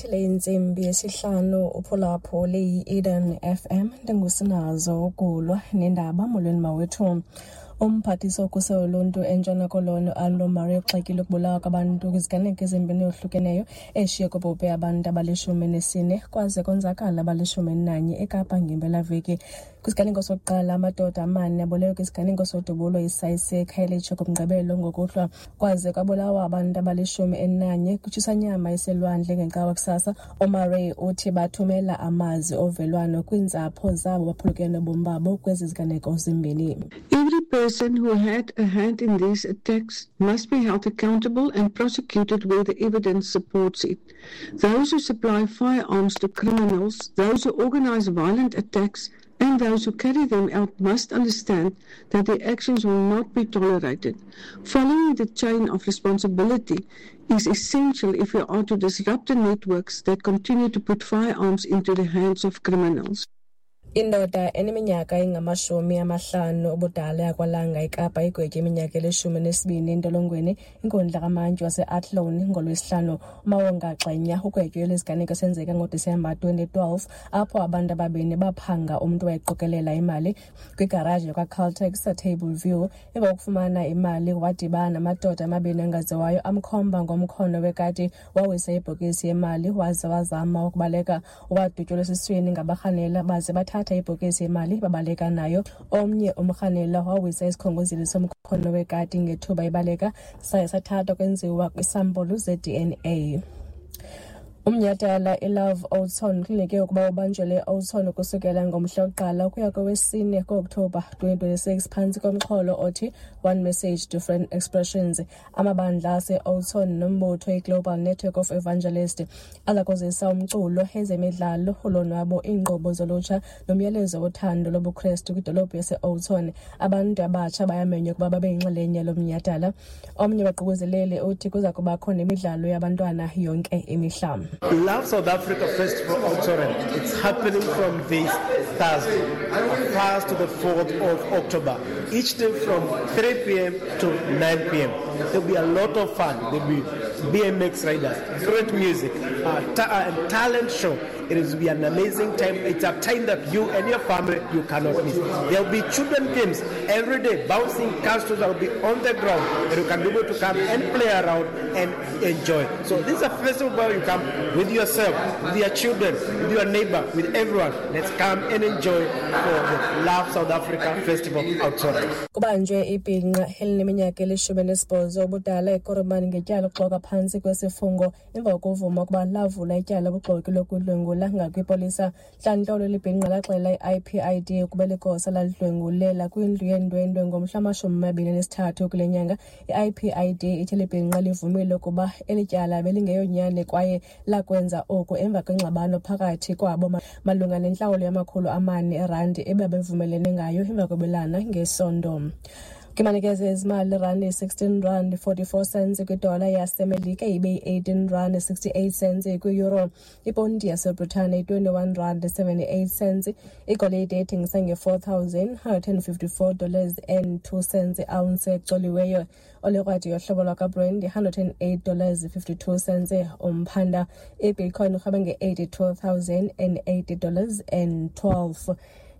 Ibethile intsimbi yesihlanu uphulaphuli yi-Eden FM, ndingusinazo ukulwa nendaba. Molweni mawethu. Umphathiswa wokhuselo loluntu eNtshona Koloni uAndrew Murray ugxekile ukubulawa kwabantu kwiziganeko ezimbini ezohlukeneyo eshiye kubhubhe abantu abali-14 kwaze konzakala abali-11 eKapa ngempelaveki. Kwisiganeko sokuqala, amadoda amane abulewe kwisiganeko sodubulo isayise eKhayelitsha ngoMgqibelo ngokuhlwa, kwaze kwabulawa abantu abali-11 kwitshisanyama eselwandle ngeCawa kusasa. UMurray uthi bathumela amazwi ovelwano kwiintsapho zabo baphulukene nobomi babo kwezi ziganeko zimbini. Every person who had a hand in these attacks must be held accountable and prosecuted where the evidence supports it. Those who supply firearms to criminals, those who organize violent attacks, and those who carry them out must understand that their actions will not be tolerated. Following the chain of responsibility is essential if we are to disrupt the networks that continue to put firearms into the hands of criminals. Indoda eneminyaka engama-50 ubudala yakwaLanga eKapa igwetye iminyaka eli-12 entolongweni inkundla kamantyi wase-Athlone ngoLwesihlanu. UMawonga Xenya ugwetywe lesiganeko senzeka ngoDisemba 2012 apho abantu ababini baphanga umntu owayeqokelela imali kwigaraji yakwaCaltex eTable View. Emva kokufumana imali wadibana namadoda amabini angaziwayo amkhomba ngomkhono wekati, wawisa ibhokisi yemali waze wazama ukubaleka. Wadutyulwa esiswini ngabarhanela baze bathatha ibhokisi yemali babaleka nayo. Omnye umrhanelwa wawisa isikhongozeli somkhono wekati ngethuba ibaleka, saye sathathwa kwenziwa kwiisampulu ze-DNA. Umnyhadala iLove Oudtshoorn kulindeleke ukuba ubanjelwe eOudtshoorn ukusukela ngomhla wokuqala ukuya kowesine ku-Okthobha 2026 phantsi komxholo othi "One Message, Different Expressions". Amabandla ase-Oudtshoorn nombutho iGlobal Network of Evangelists aza kuzisa umculo, ezemidlalo, ulonwabo, iinkqubo zolutsha nomyalezo wothando lobuKrestu kwidolophu yase-Oudtshoorn. Abantu abatsha bayamenywa ukuba babe yinxalenye yalo mnyhadala. Omnye wabaququzeleli uthi kuza kubakho nemidlalo yabantwana yonke imihla. Love South Africa Festival Oudtshoorn. It's happening from this Thursday, 1st to the 4th of October. Each day from 3 p.m. to 9 p.m. There'll be a lot of fun. There'll be BMX riders, great music, and talent show. It will be an amazing time. It's a time that you and your family, you cannot miss. There'll be children games every day. Bouncing castles will be on the ground, and you can be able to come and play around and enjoy. So this is a festival where you come with yourself, with your children, with your neighbor, with everyone. Let's come and enjoy for the Love South Africa Festival Oudtshoorn. Kubanjwe ibhinqa elineminyaka eli-18 ubudala eKuruman ngetyala lokuxoka phantsi kwesifungo emva kokuvuma ukuba lavula ityala lobuxoki lokudlwengula ngakwipolisa. Ntlantlolo eli bhinqa laxelela i-IPID ukuba ligosa lalidlwengulela kwindlu yeendwendwe ngomhla wama-23 kule nyanga. I-IPID ithi eli bhinqa livumile ukuba eli tyala belingeyonyani kwaye lakwenza oku emva kwengxabano phakathi kwabo malunga nentlawulo yama-400 erandi ebebevumelene ngayo emva kwebelana ngesondo. Kwimanikeze ezimali, irandi 16 rand 44 cents kwidola yaseMelika, ibe yi-18 rand 68 cents kwi-euro. Iponti yaseBritane i-21 rand 78 cents. Igolide ethengisa nge-$4,154 and 2 cents i-ounce ecoliweyo. Olekrwada yohlobo lwakwaBrent i-$108 52 cents umphanda. IBitcoin irhweba nge-$82,080 and 12.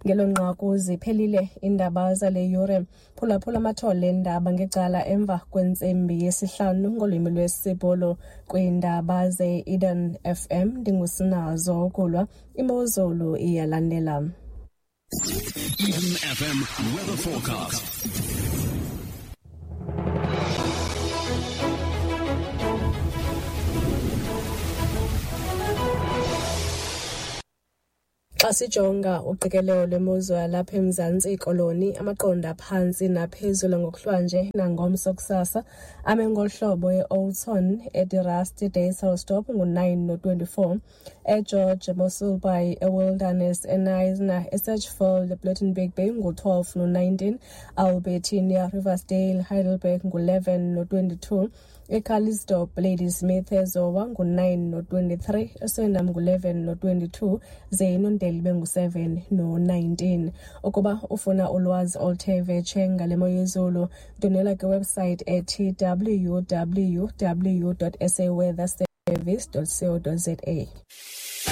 Ngelo nqaku ziphelile iindaba zale yure. Phulaphula amathole eendaba ngecala emva kwentsimbi yesihlanu ngolwimi lwesiBhulu kwiindaba ze-Eden FM. Ndingusinazo ukulwa. Imozulu iyalandela. Eden FM weather forecast. Xa sijonga uqikelelo lwemozulu yalapha eMzantsi Koloni, amaqondo aphantsi naphezulu ngokuhlwanje nangomso kusasa ame ngolu hlobo: eOudtshoorn, eDe Rust, Dysselsdorp ngu-9 no-24, eGeorge, Mossel Bay, eWilderness, eKnysna, eSedgefield, Plettenberg Bay ngu-12 no-19, Albertinia, Riversdale, Heidelberg ngu-11 no-22, eCalitzdorp, Ladysmith, eZowa ngu-9 no-23, eSwellendam ngu-11 no-22, ze iNondeli ibe ngu-7 no-19. Ukuba ufuna ulwazi oluthe vetshe ngale mo yezulu, ndwendwela kwiwebsite ethi www.saweather. service co za.